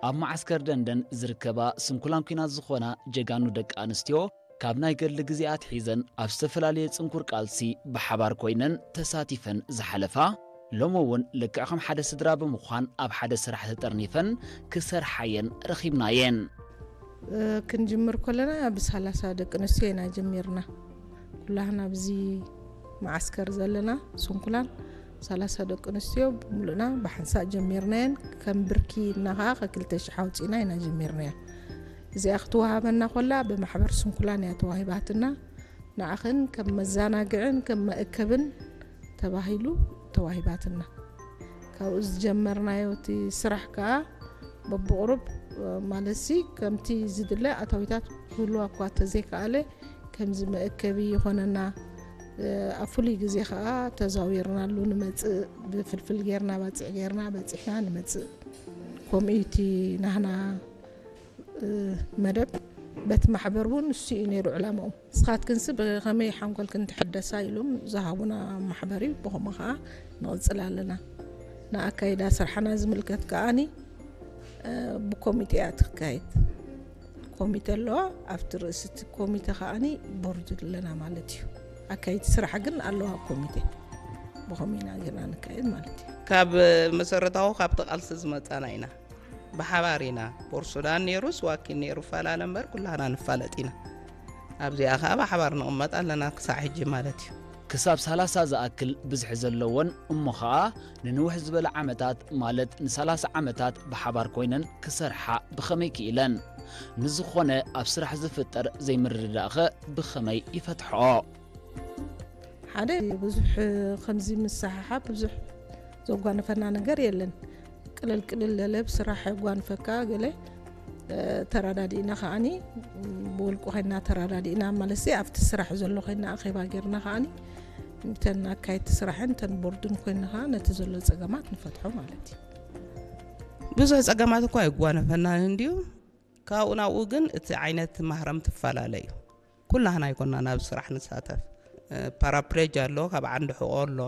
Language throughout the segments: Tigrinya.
ኣብ መዓስከር ደንደን ዝርከባ ስንኩላን ኲናት ዝኾና ጀጋኑ ደቂ ኣንስትዮ፣ ካብ ናይ ገድሊ ግዜ ኣትሒዘን ኣብ ዝተፈላለየ ጽንኩር ቃልሲ ብሓባር ኮይነን ተሳቲፈን ዝሓለፋ፣ ሎሚ እውን ልክዕ ከም ሓደ ስድራ ብምዃን ኣብ ሓደ ስራሕ ተጠርኒፈን ክሰርሓየን ረኺብናየን። ክንጅምር ከለና ብሰላሳ ደቂ ኣንስትዮ ኢና ጀሚርና። ኩላህና ኣብዚ መዓስከር ዘለና ስንኩላን ሰላሳ ደቂ ኣንስትዮ ብምሉእና ብሓንሳእ ጀሚርናየን። ከም ብርኪ እና ከዓ ከክልተ ሽሕ ኣውፂእና ኢና ጀሚርናያ። እዚኣ ክትወሃበና ኮላ ብማሕበር ስንኩላን እያ ተዋሂባትና። ንዓኽን ከም መዘናግዕን ከም መእከብን ተባሂሉ ተዋሂባትና። ካብኡ ዝጀመርናዮ እቲ ስራሕ ከዓ በብቑሩብ ማለትሲ ከምቲ ዝድለ ኣታዊታት ክህልዋ እኳ ተዘይከኣለ ከምዚ መእከቢ ይኾነና። ኣብ ፍሉይ ግዜ ከዓ ተዛዊርናሉ ንመፅእ፣ ብፍልፍል ጌርና ባፅዕ ጌርና በፂሕና ንመፅእ። ከምኡ እዩ እቲ ናህና መደብ። በቲ ማሕበር እውን እሱ እዩ ነይሩ ዕላማኡ። ንስኻትክንሲ ብኸመይ ሓንጎልክን ትሕደሳ ኢሎም ዝሃቡና ማሕበር እዩ። ብኸምኡ ከዓ ንቕፅል ኣለና። ንኣካይዳ ስርሓና ዝምልከት ከዓኒ ብኮሚቴ እያ ትካየድ። ኮሚቴ ኣለዋ። ኣብቲ ርእሲ እቲ ኮሚቴ ከዓኒ ቦርድ ኣለና ማለት እዩ። ኣካይቲ ስራሕ ግን ኣለዋ ኮሚቴ። ብኸምኡ ኢና ጌርና ንካየድ ማለት እዩ። ካብ መሰረታዊ ካብቲ ቃልሲ ዝመፃና ኢና። ብሓባር ኢና። ፖርት ሱዳን ነይሩ፣ ስዋኪን ነይሩ፣ ፈላለ እምበር ኩላህና ንፋለጥ ኢና። ኣብዚኣ ከዓ ብሓባር ንቕመጥ ኣለና ክሳዕ ሕጂ ማለት እዩ። ክሳብ ሰላሳ ዝኣክል ብዝሒ ዘለዎን እሞ ኸኣ ንንውሕ ዝበለ ዓመታት ማለት ንሰላሳ ዓመታት ብሓባር ኮይነን ክሰርሓ ብኸመይ ክኢለን? ንዝኾነ ኣብ ስራሕ ዝፍጠር ዘይምርድዳእኸ ብኸመይ ይፈትሕኦ? ሓደ ብዙሕ ከምዚ ምስሕሓብ ብዙሕ ዘጓነፈና ነገር የለን። ቅልል ቅልል ለለ ብስራሕ የጓንፈካ ገለ ተረዳዲእና ከዓኒ ብውልቁ ኮይና ተረዳዲእና ማለት ኣብቲ ስራሕ ዘሎ ኮይና ኣኼባ ጌርና ከዓኒ እተን ኣካየድቲ ስራሕን እተን ቦርድን ኮይና ከዓ ነቲ ዘሎ ፀገማት ንፈትሖ ማለት እዩ። ብዙሕ ፀገማት እኳ የጓነፈና እንድዩ። ካብኡ ናብኡ ግን እቲ ዓይነት ማህረም ትፈላለ እዩ። ኩላህና ኣይኮና ናብ ስራሕ ንሳተፍ። ፓራፕሌጅ ኣሎ፣ ካብ ዓንዲ ሕቆ ኣሎ፣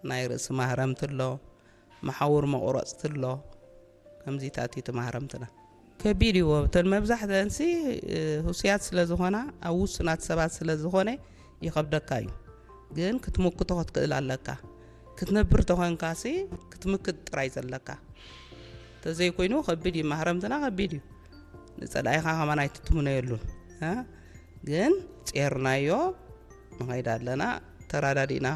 ናይ ርእሲ ማህረምቲ ኣሎ፣ መሓውር መቑረፅቲ ኣሎ። ከምዚታት እዩ እቲ ማህረምትና። ከቢድ እዩ። እተን መብዛሕተንሲ ህሱያት ስለ ዝኾና ኣብ ውሱናት ሰባት ስለ ዝኾነ ይኸብደካ እዩ። ግን ክትምክቶ ክትክእል ኣለካ። ክትነብር ተኾንካሲ ክትምክት ጥራይ ዘለካ። ተዘይኮይኑ ከቢድ እዩ። ማህረምትና ከቢድ እዩ። ንፀላኢኻ ከማን ኣይትትምነየሉን። ግን ጼርናዮ ንኸይድ ኣለና። ተራዳዲእና